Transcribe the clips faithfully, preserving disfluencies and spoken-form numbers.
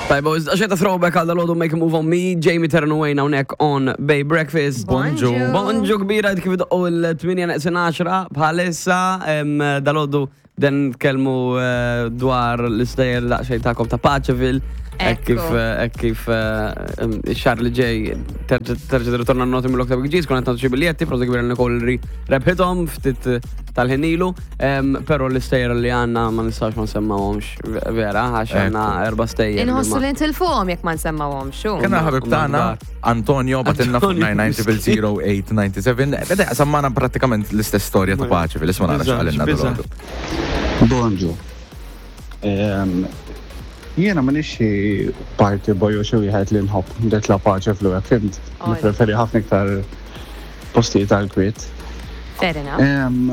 Tajba, xeta throwback għal dal Make a Move on Me, Jamie Terran Wayne hawnhekk on Bay Breakfast. Bonġu. Bonġu kbira kif doqqu l-tmienja neqsin għaxra bħalissa dalgħodu den nitkellmu eh, dwar l-istejjer daqsxejn tagħkom ta' Paceville. Hekk kif Ekku. eh, hekk kif eh, em, ix-xahar li ġej terġa' terġa' tirritorna n-noti mill-Okta Big G's, konna qed nagħtu xi biljetti, prosit kbira Nicole li rebħithom ftit eh, tal-ħin ilu, em, però l-istejjer li għandna ma nistax ma nsemmawhomx vera, għax għandna erba' stejjer. li Inħossu ma- li ntilfuhom jekk ma nsemmawhomx. xu. Kena ħabib tagħna Antonio bagħtilna fuq Antonio. nine nine zero zero eight nine seven. Beda sammana prattikament l-istess storja ta' paċi fil-isma nara Biża', x'qalilna biża'. dalgħodu. Bonġu. Ehm, Jiena ma xi party boy u xi wieħed li nħobb nitla' Paceville hekk, fhimt. Oj. Nippreferi ħafna iktar postijiet tal-kwiet. Fair enough. Ehm,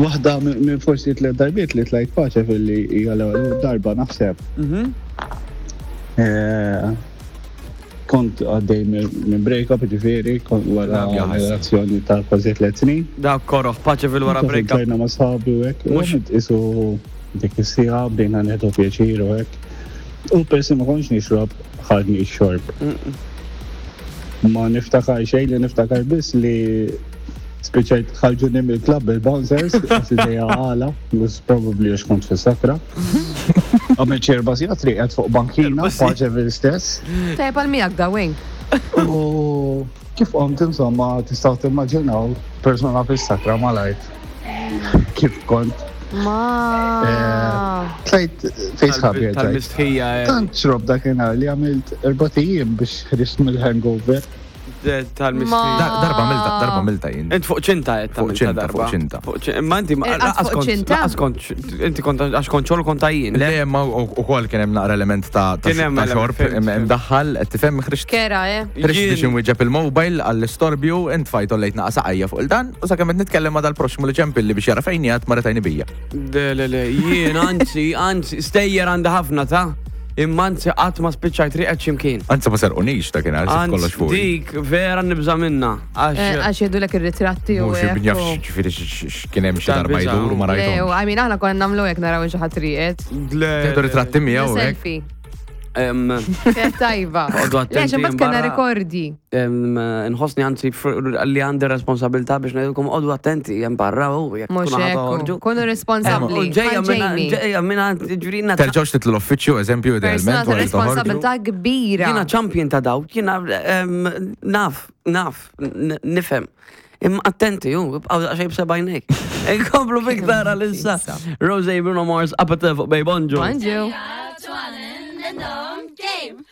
Waħda minn minn forsi tliet darbiet li tlajt Paceville li hija l-ewwel darba naħseb. Mhm. Eh, Kont għaddej minn minn break-up, ġifieri, kont wara Nabja ħasra. relazzjoni ta' kważi tliet snin. Dak koroħ, Paceville wara break-up. Tlajna ma' sħabi u hekk. Mhux- U isu dik is-siegħa bdejna nieħdu pjaċir u hekk. U persi ma kontx nixrob, ħadni x-xorb. Ma niftakar xejn, li niftakar biss li spiċċajt ħarġuni mill-club il-bouncers, għax idejja għala, was probably għax kont fis-sakra. Għamilt xi erba' sigħat rieqed fuq bankina, Paceville stess. Tajb għal miegħek da wing. U kif qomt, insomma, tistgħu timmaġinaw persona fis-sakra malajt. Kif kont. Ma. Tlajt fejn sħabi tlajt. Tal-mistħija. eh, Tant xrobt dakinhar li għamilt erbat ijiem biex ħriġt mill-hangover. eh, Tal-mistħija. Dar- Darba milta, darba milta jien. Int fuq ċinta qed Fuq tagħmilha ċinta, darba. fuq ċinta. Fuq ċin- Imma inti ma- Eh, laqas fuq kont ċinta? laqas kont inti kont għax kont xogħol kont għajjien. Le? Le, ma u kol kien hemm naqra element ta' ta' Kien hemm ta' element, xorb fhimt, im- fhimt. imdaħħal, qed tifhem ħriġt Kera, eh? ħriġt biex Jien- inwieġeb il-mobile għall-istorbju, int fajt ollejt naqa saqajja fuq il-dan, u sakemm qed nitkellem ma' dal-proxmu li ċempilli biex jara fejn jgħid ma retajni bija. Le, le, le, jien anzi, anzi, stejjer għandi ħafna ta' imma anzi qatt ma spiċċajt rieqed x'imkien. Anzi ma serqunix ta' kien għal kollox Anzi, fuq. dik vera nibża minna. Eh, Għax Għax jgħidulek ir-ritratti u Mhux hekk jaf u- ġifieri kien hemm xi darba Tal-biża'. jdur u ma Le, u rajthomx. I mean, aħna konna nagħmlu hekk naraw xi ħadd rieqed. Le, Tieħdu ritratti miegħu hekk. Selfie. Em, Kienet tajba. Oqgħodu Le, attenti xi mbagħad kellna barra. rikordi. em, Nħossni anzi fr- li għandi responsabilità biex ngħidilkom oqogħdu attenti hemm barra u jekk Mhux tkunu ħa hekk. toħorġu. Kunu responsabbli. U Ġejja Bħal minna, Jamie. ġejja minna, ġurina. Terġgħux titlu l-uffiċċju, eżempju, Persona idealment, ta' wara li toħorġu. responsabilità kbira. Jiena champion ta' daw, jiena em, naf, naf, n- nifhem. Imma attenti, ju, ibqaw daqsxejn b'sebgħajnejk. Inkomplu biktar għalissa. Rose Bruno Mars, Appetite fuq Bay Bonġu. Bonġu. Game.